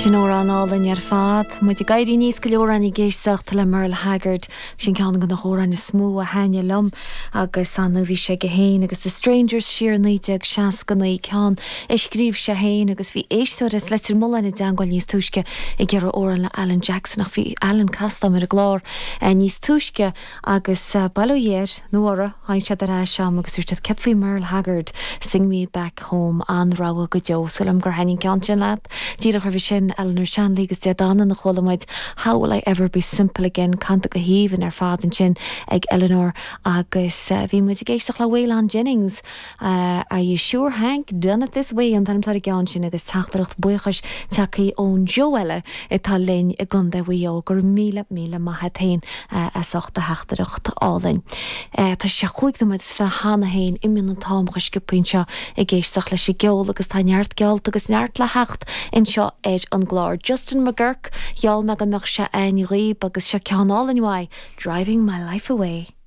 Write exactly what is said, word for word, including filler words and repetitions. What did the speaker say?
Sin amhrán álainn ar fad, Muid ag éirí níos go leor ag éisteacht le Merle Haggard sin ceann de na hamhráin is mó a thaitníonn liom agus an bhí sé go héin agus The Strangers siar naoi déag seasca naoi ceann a scríobh sé féin agus bhí éisteoir as Leitir Mealláin i dteagmháil níos túisce ag iarraidh amhrán le Alan Jackson ach bhí Alan casta ar an gclár eh, níos túisce agus uh, bail ó Dhia air nó uirthi tháinig siad ar ais agam agus dúirt céard faoi Merle Haggard Sing Me Back Home an-rogha go deo Súil gur thaitin ceann sin leat Díreach roimhe sin Eleanor Shanley agus Dé Danann a chuala muid How will I ever be simple again canta go haoibhinn ar fad ansin ag Eleanor agus uh, bhí muid ag éisteacht le Waylon Jennings uh, Are you sure Hank done it this way an t-ainm ar an gceann sin agus teachtaireacht buíochais tagtha ón Joe eile atá linn i gContae Mhaigh Eo gur míle míle maith féin uh, as ucht a theachtaireacht álainn. Uh, Tá sé chúig nóiméad is fiche cheana féin imíonn an t-am go sciobtha anseo ag éisteacht leis an gceol agus tá neart geallta agus neart le theacht anseo ar an gclár. Justin McGurk gheall mé go mbeadh sé againn agus seo ceann álainn uaidh, driving my life away.